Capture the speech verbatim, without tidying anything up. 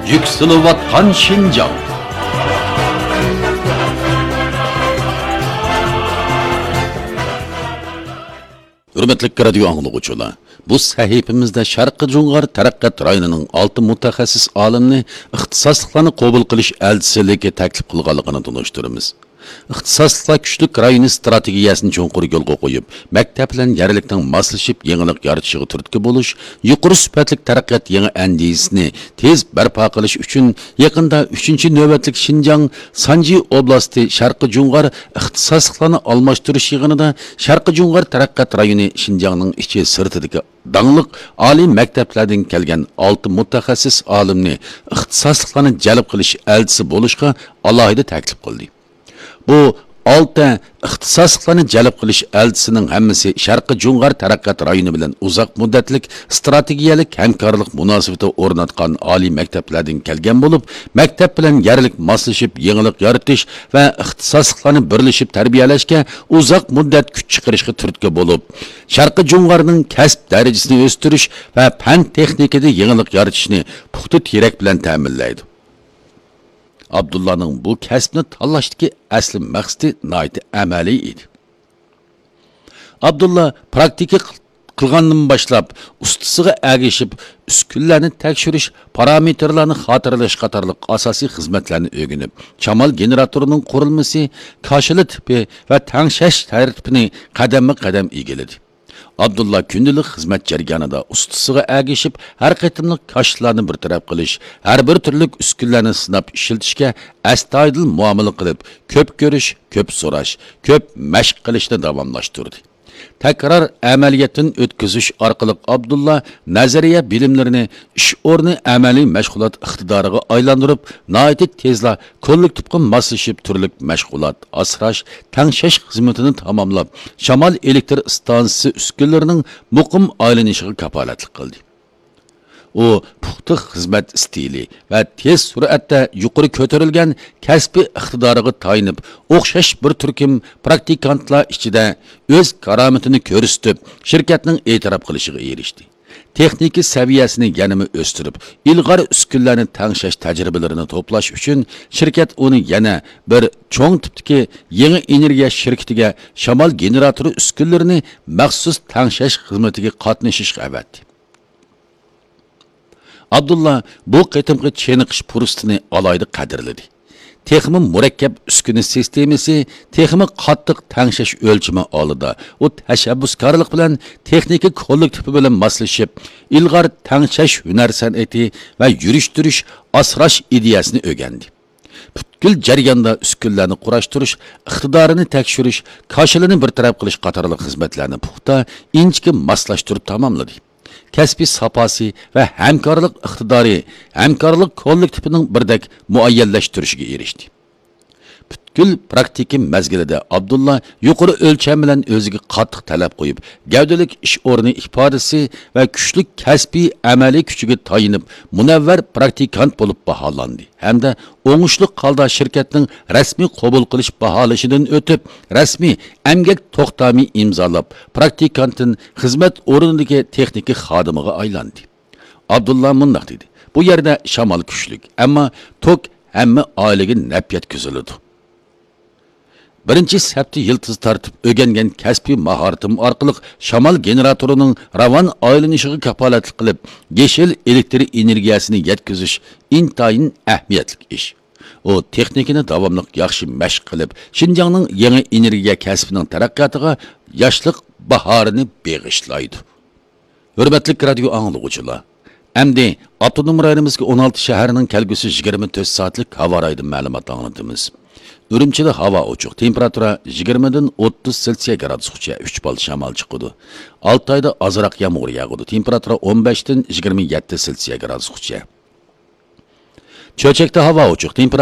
يۈكسىلىۋاتقان شىنجاڭ. ھۆرمەتلىك رادىيو ئاڭلىغۇچىلار، بۇ سەھىپىمىزدە شەرقىي جۇڭغار تەرەققىيات رايونىنىڭ ئالتە مۇتەخەسسىس ئالىمنى ئىختىساسلىقلارنى قوبۇل قىلىش ئەلچىسىلىككە تەكلىپ قىلغانلىقىنى تونۇشتۇرىمىز. ئىختىساسلىقلار كۈچلۈك رايونى ئىستراتېگىيەسىنى چوڭقۇر يولغا قويۇپ، مەكتەپ بىلەن يەرلىكنىڭ ماسلىشىپ يېڭىلىق يارىتىشىغا تۈرتكە بولۇش، يۇقىرى سۈپەتلىك تەرەققىيات يېڭى ئەندىزىسىنى تېز بەرپا قىلىش ئۈچۈن يېقىندا ئۈچىنچى نۆۋەتلىك شىنجاڭ سانجى ئوبلاستى شەرقىي جۇڭغار ئىختىساسلىقلارنى ئالماشتۇرۇش يىغىنىدا شەرقىي جۇڭغار تەرەققىيات رايونى شىنجاڭنىڭ ئىچى سىرتىدىكى داڭلىق ئالىي مەكتەپلەردىن كەلگەن ئالتە مۇتەخەسسىس ئالىمنى ئىختىساسلىقلارنى جەلپ قىلىش ئەلچىسى بولۇشقا ئالاھىدە تەكلىپ قىلدى. بۇ ئالتە ئىختىساسلىقلارنى جەلپ قىلىش ئەلچىسىنىڭ ھەممىسى شەرقىي جۇڭغار تەرەققىيات رايونى بىلەن ئۇزاق مۇددەتلىك ئىستراتېگىيەلىك ھەمكارلىق مۇناسىۋىتى ئورناتقان ئالىي مەكتەپلەردىن كەلگەن بولۇپ، مەكتەپ بىلەن يەرلىك ماسلىشىپ يېڭىلىق يارىتىش ۋە ئىختىساسلىقلارنى بىرلىشىپ تەربىيەلەشكە ئۇزاق مۇددەت كۈچ چىقىرىشقا تۈرتكە بولۇپ، شەرقىي جۇڭغارنىڭ كەسىپ دەرىجىسىنى ئۆستۈرۈش ۋە پەن تېخنىكىدا يېڭىلىق يارىتىشنى پۇختا تىرەك بىلەن تەمىنلەيدۇ. ئابدۇللانىڭ بۇ كەسىپنى تاللاشتىكى ئەسلى مەقسىتى ناھايىتى ئەمەلىي ئىدى. ئابدۇللا پراكتىكا قىلغاندىن باشلاپ، ئۇستىسىغا ئەگىشىپ، ئۈسكۈنىلەرنى تەكشۈرۈش، پارامېتىرلارنى خاتىرىلەش قاتارلىق ئاساسىي خىزمەتلەرنى ئۆگىنىپ، شامال گېنېراتورىنىڭ قۇرۇلمىسى، كاشىلا تىپى ۋە تەڭشەش تەرتىپىنى قەدەممۇ قەدەم ئىگىلىدى. ئابدۇللا كۈندىلىك خىزمەت جەريانىدا ئۇستىسىغا ئەگىشىپ، ھەر قېتىملىق كاشىلارنى بىر تەرەپ قىلىش، ھەر بىر تۈرلۈك ئۈسكۈنىلەرنى سىناپ ئىشلىتىشكە ئەستايىدىل مۇئامىلە قىلىپ، كۆپ كۆرۈش، كۆپ سوراش، كۆپ مەشىق قىلىشنى داۋاملاشتۇردى. تەكرار ئەمەلىيەتتىن ئۆتكۈزۈش ئارقىلىق ئابدۇللا نەزەرىيە بىلىملىرىنى ئىش ئورنى ئەمەلىي مەشغۇلات ئىقتىدارىغا ئايلاندۇرۇپ، ناھايىتى تېزلا كوللېكتىپقا ماسلىشىپ تۈرلۈك مەشغۇلات، ئاسراش، تەڭشەش خىزمىتىنى تاماملاپ، شامال ئېلېكتر ئىستانسىسى ئۈسكۈنىلىرىنىڭ مۇقىم ئايلىنىشىغا كاپالەتلىك قىلدى. ئۇ پۇختا خىزمەت ئىستىلى ۋە تېز سۈرئەتتە يۇقىرى كۆتۈرۈلگەن كەسپىي ئىقتىدارىغا تايىنىپ، ئوخشاش بىر تۈركۈم پراكتىكانتلار ئىچىدە ئۆز كارامىتىنى كۆرسىتىپ، شىركەتنىڭ ئېتىراپ قىلىشىغا ئېرىشتى. تېخنىكا سەۋىيەسىنى يەنىمۇ ئۆستۈرۈپ، ئىلغار ئۈسكۈنىلەرنى تەڭشەش تەجرىبىلىرىنى توپلاش ئۈچۈن، شىركەت ئۇنى يەنە بىر چوڭ تىپتىكى يېڭى ئېنېرگىيە شىركىتىگە شامال گېنېراتورى ئۈسكۈنىلىرىنى مەخسۇس تەڭشەش خىزمىتىگە قاتنىشىشقا ئەۋەتتى. ئابدۇللا بۇ قېتىمقى چېنىقىش پۇرسىتىنى ئالاھىدە قەدىرلىدى. تېخىمۇ مۇرەككەپ ئۈسكۈنە سىستېمىسى، تېخىمۇ قاتتىق تەڭشەش ئۆلچىمى ئالدىدا، ئۇ تەشەببۇسكارلىق بىلەن تېخنىكا كوللېكتىپى بىلەن ماسلىشىپ، ئىلغار تەڭشەش ھۈنەر سەنئىتى ۋە يۈرۈشتۈرۈش ئاسراش ئىدىيەسىنى ئۆگەندى. پۈتكۈل جەرياندا ئۈسكۈنىلەرنى قۇراشتۇرۇش، ئىقتىدارىنى تەكشۈرۈش، كاشىلىنى بىر تەرەپ قىلىش قاتارلىق خىزمەتلەرنى پۇختا، ئىنچىكە ماسلاشتۇرۇپ تاماملىدى. كەسپىي ساپاسى ۋە ھەمكارلىق ئىقتىدارى ھەمكارلىق كوللېكتىپىنىڭ بىردەك مۇئەييەنلەشتۈرۈشىگە ئېرىشتى. پۈتكۈل پراكتىكا مەزگىلىدە ئابدۇللا يۇقىرى ئۆلچەم بىلەن ئۆزىگە قاتتىق تەلەپ قويۇپ، گەۋدىلىك ئىش ئورنى ئىپادىسى ۋە كۈچلۈك كەسپىي ئەمەلىي كۈچىگە تايىنىپ، مۇنەۋۋەر پراكتىكانت بولۇپ باھالاندى ھەمدە ئوڭۇشلۇق ھالدا شىركەتنىڭ رەسمىي قوبۇل قىلىش باھالىشىدىن ئۆتۈپ، رەسمىي ئەمگەك توختامى ئىمزالاپ، پراكتىكانتتىن خىزمەت ئورنىدىكى تېخنىكا خادىمىغا ئايلاندى. ئابدۇللا مۇنداق دېدى: «بۇ يەردە شامال كۈچلۈك، ئەمما توك ھەممە ئائىلىگە نەپ يەتكۈزۈلىدۇ.» بىرىنچى سەپتە يىلتىز تارتىپ ئۆگەنگەن كەسپىي ماھارىتىم ئارقىلىق شامال گېنېراتورىنىڭ راۋان ئايلىنىشىغا كاپالەتلىك قىلىپ، يېشىل ئېلېكتر ئېنېرگىيەسىنى يەتكۈزۈش ئىنتايىن ئەھمىيەتلىك ئىش. ئۇ تېخنىكىنى داۋاملىق ياخشى مەشىق قىلىپ، شىنجاڭنىڭ يېڭى ئېنېرگىيە كەسپىنىڭ تەرەققىياتىغا ياشلىق باھارىنى بېغىشلايدۇ. ھۆرمەتلىك رادىيو ئاڭلىغۇچىلار، ئەمدى ئاپتونوم رايونىمىزدىكى ئون ئالتە شەھەرنىڭ كەلگۈسى يىگىرمە تۆت سائەتلىك ھاۋا رايىدىن مەلۇمات ئاڭلىتىمىز. ئۈرۈمچىدە ھاۋا ئوچۇق، تېمپېراتۇرا يىگىرمىدىن ئوتتۇز سېلسىيە گرادۇسقىچە، ئۈچ بال شامال چىقىدۇ. ئالتايدا ئازراق يامغۇر ياغىدۇ، تېمپېراتۇرا ئون بەشتىن يىگىرمە يەتتە سېلسىيە گرادۇسقىچە. چۆچەكتە ھاۋا ئوچۇق، تېمپېراتۇرا